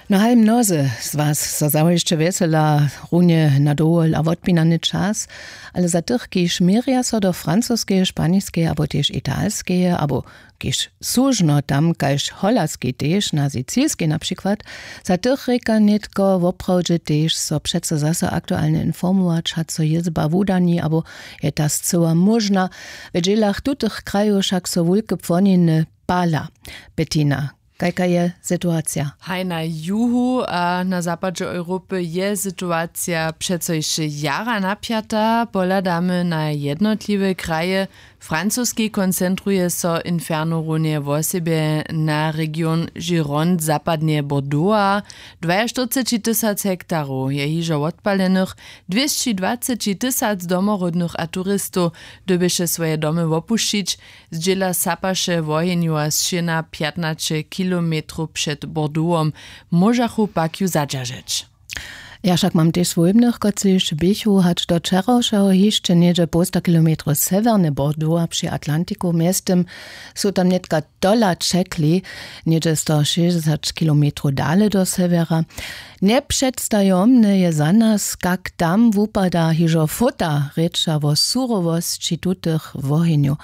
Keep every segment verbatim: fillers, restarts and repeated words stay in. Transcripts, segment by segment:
No haj, mnozy z was so zawěsće wjesela runje na dowol a wotpinany čas, ale za tych, kiž měrja so do francuskeje, španiskeje abo tež italskeje abo kiž słužno tam kaž holaskej tež na sicilskej na přikład, za tych rěka nětko woprawdźe tež so přeco zaso aktualnje informować, hač so jězba wudani abo je ta scyła móžna. W dźělach tutych krajow wšak so wulke płoniny pala. Bettina, kajka je situacija? Haj, na juhu a na zapadźe europy je situacija přeco hišće jara napjata. Pohladamy na jednotliwe kraje. Francuski koncentruje so inferno runje wosebje na region Gironde zapadneje Bordeauxa. Dwaještyrceći tysac hektarow je hižo wotpalenych, dwěsćidwaceći tysac domoródnych a turistow dyrbješe swoje domy wopušćić. Zdźěla sapaše wohenju a sćěna pjatnaće kilometrow před Bordeauxom. Móžachu pak ju zadźeržeć. Ja wšak mam tež swójbnych, kotřiž běchu hač do wčerawšeho hišće něhdźe połsta kilometrow sewjerne Bordeauxa při Atlantiku. Mjeztym su tam nětka tola ćekli, něhdźe sto šěsćdźesać kilometrow dale do sewjera. Njepředstajomne je za nas, kak tam wupada hižo fota, rěča wo surowosći tutych wohenjow.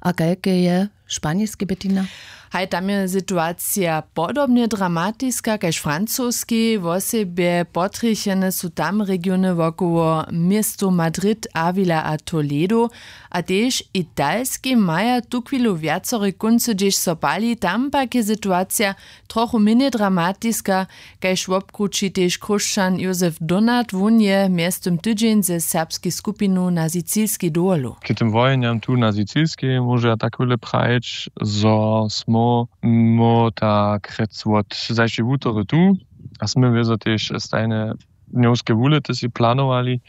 A kajke je w španiskej, Bettina? Haj, tam je situacija podobnje dramatiska kaž w francuskej. Wosebje potrjechene su tam regiony wokoło městow Madrid, Avila a Toledo. A tež italskej maja tuchwilu wjacore kóncy, hdźež so pali. Tam pak je situacija trochu mjenjej dramatiska, kaž wobkrući tež chróšćan Józef Donat. Wón je mjeztym tydźeń ze serbskej skupinu na sicilskej dowolu. K tym wojenjam tu na sicilskej móžu ja tak wjele prajić, zo smy my tak rjec wot zašłej wutory tu a smy wězo tež stajne dnjowske wulěty sej planowali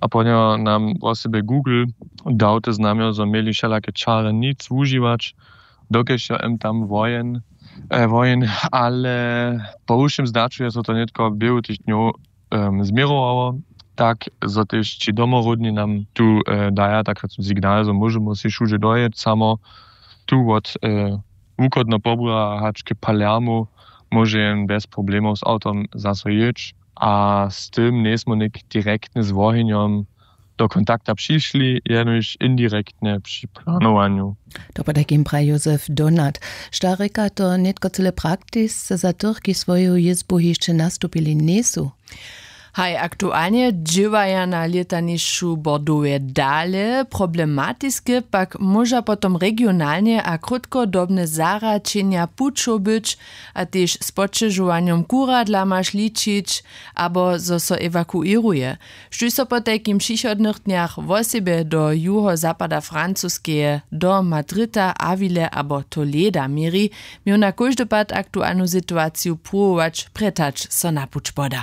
a pohnjo nam wosebje Google dał te znamjo, zo měli wšelake čary nic wužiwać, dokelž jo em tam wojen, e, wojen, ale po wšěm zdaću je so to nětko běhu tych dnjow, em, změrowało, tak zo tež ći domoródni nam tu, e, daja tak signal, zo móžemy sej wšudźe dojěć, samo tu wot, e, wuchodneho Pobura hač k Palermu móže jen bjez problemow z awtom zaso jěć. A z tym njejsmy něk direktnje z wohenjom do kontakta přišli, jenož indirektnje při planowanju. To potajkim praji Józef Donat. Što rěka to nětko cyle praktisce za tych, kiž swoju jězbu hišće nastupili njejsu? Haj, aktualnje dźěłaja na lětanišću Bordeauxje dale. Problematiske pak móža potom regionalnje a krótkodobne zahraćenja pućow być, a tež z poćežowanjom kuradla maš ličić, abo zo so ewakuěruje. Štóž so potajkim w přichodnych dnjach wosebje do juhozapada Francuskeje, do Madrita, Avile abo Toleda měri, měł na kóždy pad aktualnu situaciju pruwować prjetać so na puć poda.